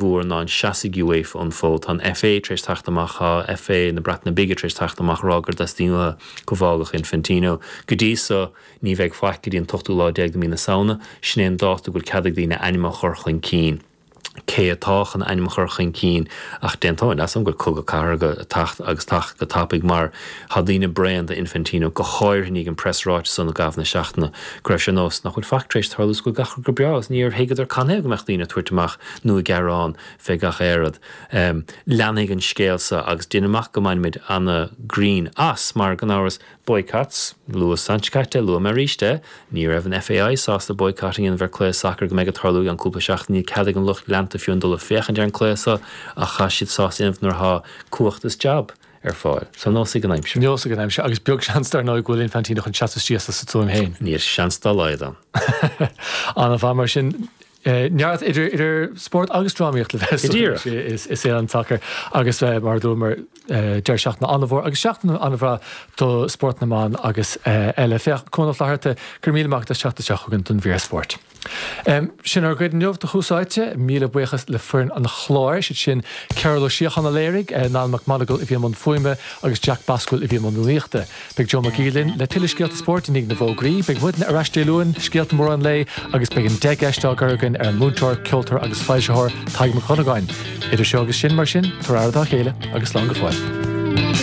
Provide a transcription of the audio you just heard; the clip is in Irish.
mhór ná an seasfaidh UEFA an fód. Tá an FA tar éis teacht amach, tá FA na Breataine Bige tar éis teacht amach a rá gur dteastaíonn uathu go bhfágfadh Infantino. Go dtí so, ní bheidh faic go dtí an t-ochtú lá déag de mhí na Samhna. Sin é an dáta go bhfuil cead ag daoine ainm a chur chun cinn. Cé atá chun ainm a chur chun cinn? Ach d'aontóinn leatsa go bhfuil cogadh cathartha ag teacht agus teacht go tapaidh mar tá daoine bréan de Infantino, go háirithe i ndiaidh an preasráiteas san i gcaitheamh na seachtaine go raibh sé ar nós nach bhfuil faic tar éis tarlú is go bhfuil gach rud go breá agus níor thuigeadar canathaobh go mbeadh daoine ag tabhairt amach nó ag gearán fé gach aon rud. Leanfaidh an scéal so agus déanaim amach go mbainfimid ana-ghreann as mar gan amhras boycotts, luadh an tseachtain seo caite, luafaidh mé arís é, ní raibh an FAI sásta boycott a dhéanamh ar cluiche sacair go mbeidh ag tarlú i gceann cúpla seachtain, níl cead ag an lucht leanta fiú amháin dul ag féachaint ar an cluiche so ach tá siad sásta a dhéanamh nuair atá cumhacht is jab ar fáil. So nós ag an aimsir. Nós ag an aimsir agus beag seans dar ndóigh go bhfuil Infantino chun seasamh síos as a tuaim féin. Níl seans dá laghad ann. Ana-mhaith mar sin. Neart idir spórt agus drámaíocht le bheith Go díreach. i saol an tsacair agus mar a dúramar deireadh seachtaine an-mhór agus seachtain an-bhreá do spórt na mban agus eile. Féach, Cuan Ó Flatharta, go raibh míle maith agat as teacht isteach chugainn don mhír spóirt. Sin ár gcuid inniu de Thús Áite. Míle buíochas le foireann an chláir, siad sin Cearbhall Ó Síocháin a léirigh, Niall McMonagle a bhí i mbun fuaime agus Jack Basquill a bhí i mbun rúnaíochta. Beidh Joe Mac Aoidh linn le tuilleadh scéalta spóirt i ndiaidh na bhfógraí. Beidh muidne ar ais Dé Luain, scéalta móra an lae agus beidh an 10 gceist á gcur againn ar an múinteoir, ceoltóir agus foilsitheoir Tadhg Mac Dhonnagáin. Idir seo agus sin, mar sin, tabhair aire dá chéile agus slán go fóill.